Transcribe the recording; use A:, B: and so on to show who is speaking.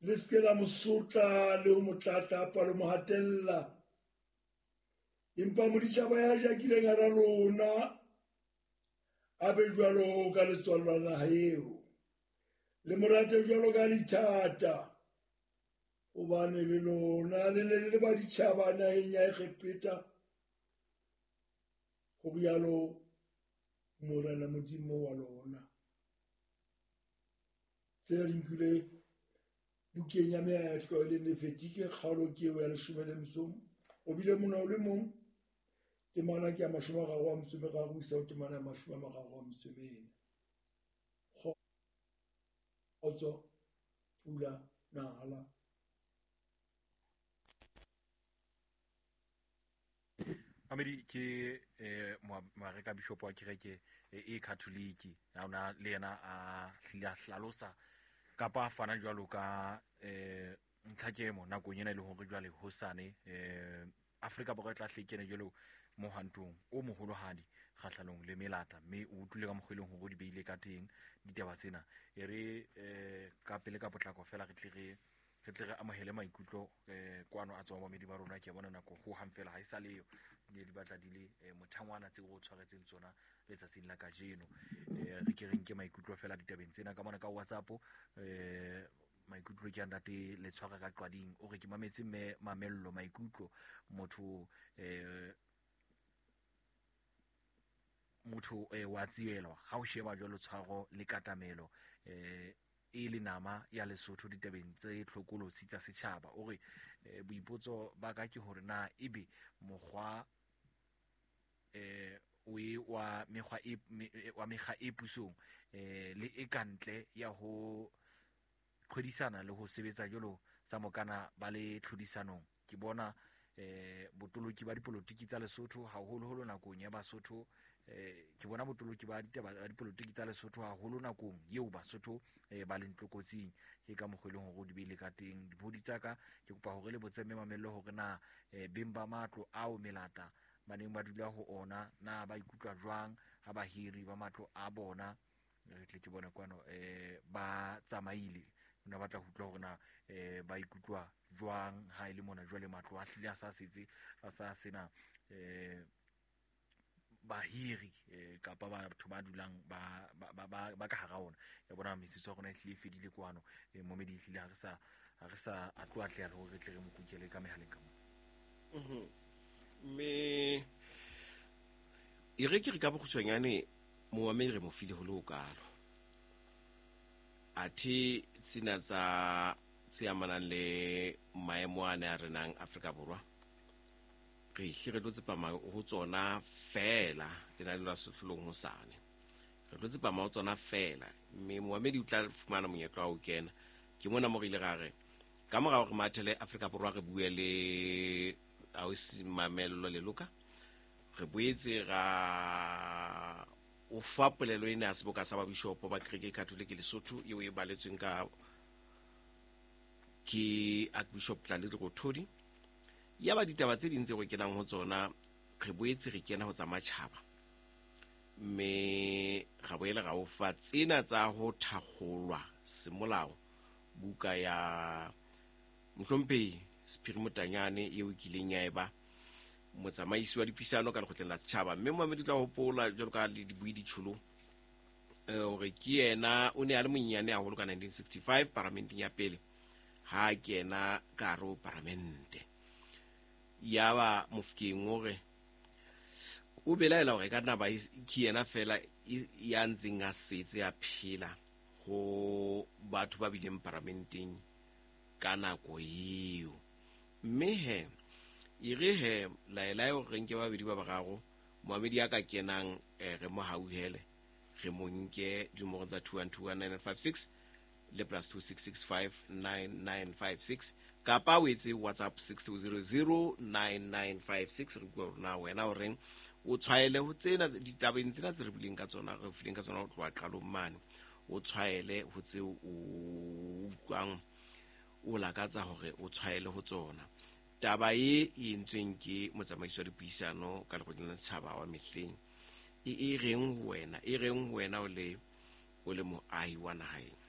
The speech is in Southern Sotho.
A: Le se ke la mo sotla le ho mo tlatlapa le mo hatella. Empa moditjhaba ya jakileng hara lona a be jwalo ka letswalo la naha eo. Le mo rate jwalo ka dithata, hobane le lona le ne le le baditjhaba naheng ya Egepeta, ho rialo Morena Modimo wa lona. Tsena di nkilwe bukeng ya meetlo e leng Lefetike, kgaolo ke eo ya leshome le metso o bile mona o le mong, temana ke ya 33 ho isa ho temana ya 34. Kgotso, pula, nala.
B: Mamedi ke moareka bishop wa kereke e Catholic ya ona le yena a hlile a hlalosa kapa a fana jwalo ka ntlhakemo nakong ena e leng hore jwale hosane Afrika Borwa e tla hle kene jwalo mohwantong o moholohadi kgahlanong le melata, mme o utlwile ka mokgwa e leng hore o di beile ka teng ditaba tsena. E re ka pele ka potlako fela re tle re re tle re amohele maikutlo kwano a tswang bamedi ba rona. Ke a bona nako ho hang fela ha e sa leyo, di ne di batla di le mothangwana tseo re o tshwaretseng tsona letsatsing la kajeno. Re ke re nke maikutlo fela ditabeng tsena ka mona ka WhatsApp. Maikutlo ke a ntate le tshwara ka qwading, o re ke mametse mme mamello maikutlo motho motho wa tsielwa ha o sheba jwalo tshwaro le katamelo e le nama ya Lesotho ditabeng tse tlhokolotsi tsa setjhaba. O re boipotso ba ka ke hore na ebe mokgwa o e wa mekgwa e wa mekga e pusong le e kantle ya ho qhwedisana le ho sebetsa jwalo tsa mokana ba le tlhodisanong. Ke bona botoloki ba dipolotiki tsa Lesotho haholoholo nakong ya Basotho, ke bona botoloki ba ditaba ba dipolotiki tsa Lesotho haholo nakong eo Basotho ba leng tlokotsing. Ke ka mokgwa e leng hore o di beile ka teng dipodi tsa ka. Ke kopa hore le botse mme mamello hore na beng ba matlo ao melata ba neng ba dula ho ona na ba ikutlwa jwang ha bahiri ba matlo a bona re tle ke bone kwano ba tsamaile. O ne batla ho utlwa hore na ba ikutlwa jwang ha e le mona jwale matlo a hlile a sa setse a sa sena bahiri kapa batho ba dulang ba ba ba ba ka hara ona. Ya bona metsotso ya rona e hlile e fedile kwano. Momedi e hlile ha re sa a tlo atleha le hore re tle re mo kukele ka mehaleng ka mona.
C: Mme e re ke re ka bokgutshwanyane momamedi re mo file ho le ho kalo. Athe tsena tsa tse amanang le maemo a ne a renang Afrika Borwa, re hle re tlo tsepama ho tsona fela lenaneo la sehlolong hosane. Re tlo tsepama ho tsona fela, mme momamedi o tla fumana monyetla wa ho kena. Ke mona mo re ile ra re ka mora hore mathele Afrika Borwa re bue le ausi Mamello Leloka, re boetse ra o fa polelo ena ya seboka sa babishopo ba kereke e Catholic Lesotho eo e baletsweng ka ke Archbishop Tlali Lerothodi. Ya ba ditaba tse ding tse re kenang ho tsona, re boetse re kena ho tsa matjhaba, mme ra boela ra o fa tsena tsa ho thakgolwa semolao buka ya mohlomphehi Sephiri Motanyane eo e kileng ya eba motsamaisi wa dipuisano ka lekgotleng la setjhaba. Mme momamedi o tla hopola jwalo ka le dibui ditjholo hore ke yena o ne a le monyenyane haholo ka 1965 paramenteng ya pele ha kena ka hare ho paramente. Ya ba Mofokeng o re o belaela hore e ka nna ba ke yena fela ya ntseng a setse a phela ho batho ba bileng paramenteng ka nako eo. Mme he e re he laelae hore re nke babedi ba bararo, momamedi a ka kenang re mo hauhele, re mo nke dinomorong tsa 2121956 le plus 26659956, kapa o etse WhatsApp 62009956. Re utlwa hore na wena o reng, o tshwaele ho tsena ditabeng tsena tse re buileng ka tsona, re fileng ka tsona ho tloha qalong mane, o tshwaele ho tseo o utlwang o lakatsa hore o tshwaele ho tsona. Taba e e entsweng ke motsamaisi wa dipuisano ka lekgotleng la setjhaba wa mehleng e e reng ho wena, e reng ho wena o le moahi wa naheng.